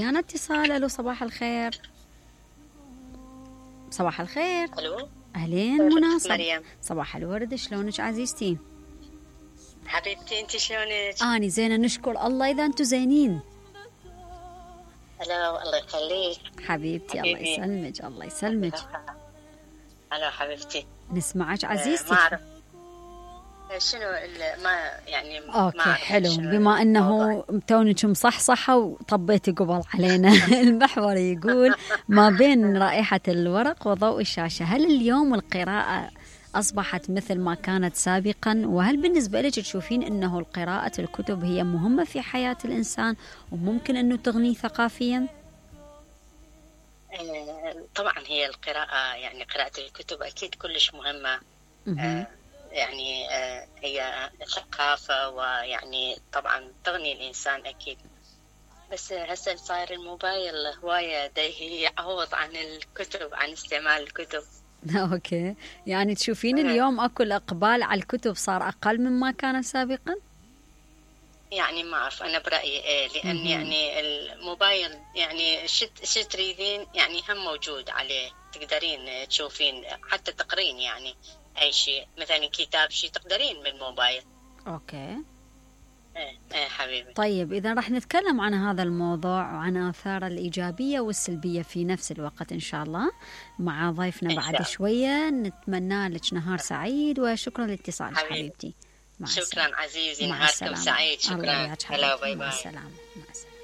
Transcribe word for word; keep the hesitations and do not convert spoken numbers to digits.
ويانا اتصال. الو صباح الخير. صباح الخير. الو اهلين منى. مريم. صباح الورد، شلونك عزيزتي؟ حبيبتي انت شلونك؟ اني زينه نشكر الله. اذا انتم زينين. الو الله يخليك حبيبتي. حبيبي. الله يسلمك الله يسلمك. الو حبيبتي. نسمعك آه، عزيزتي. ما اعرف شنو ال- ما يعني ما اوكي أعرف حلو. شنو بما انه الموضوع. تونك مصحصحه وطبيتي قبل علينا. المحور يقول ما بين رائحه الورق وضوء الشاشه، هل اليوم القراءه اصبحت مثل ما كانت سابقا؟ وهل بالنسبه لك تشوفين انه قراءه الكتب هي مهمه في حياه الانسان وممكن انه تغنيه ثقافيا؟ آه، طبعا هي القراءة، يعني قراءة الكتب أكيد كلش مهمة. مهم. آه، يعني آه، هي ثقافة، ويعني طبعا تغني الإنسان أكيد. بس هسه صاير الموبايل هواية دا يعوض عن الكتب، عن استعمال الكتب. اوكي، يعني تشوفين آه. اليوم اكو الاقبال على الكتب صار اقل مما كان سابقا؟ يعني ما أعرف، أنا برأيي إيه، لأن مهم. يعني الموبايل يعني شت شت تريدين يعني هم موجود عليه، تقدرين تشوفين حتى تقرين يعني أي شيء، مثلا كتاب شيء تقدرين من الموبايل. اوكي إيه إيه حبيبي. طيب، إذا راح نتكلم عن هذا الموضوع وعن آثاره الإيجابية والسلبية في نفس الوقت إن شاء الله مع ضيفنا إن بعد شاء الله. شوية. نتمنى لك نهار سعيد وشكرا لاتصالك حبيبي. حبيبتي. مع السلامة. شكرا عزيزي، مع نهاركم السلامة. سعيد. الله شكرا. وياك هلا حبيبتي. باي مع باي. السلامة. مع السلامة.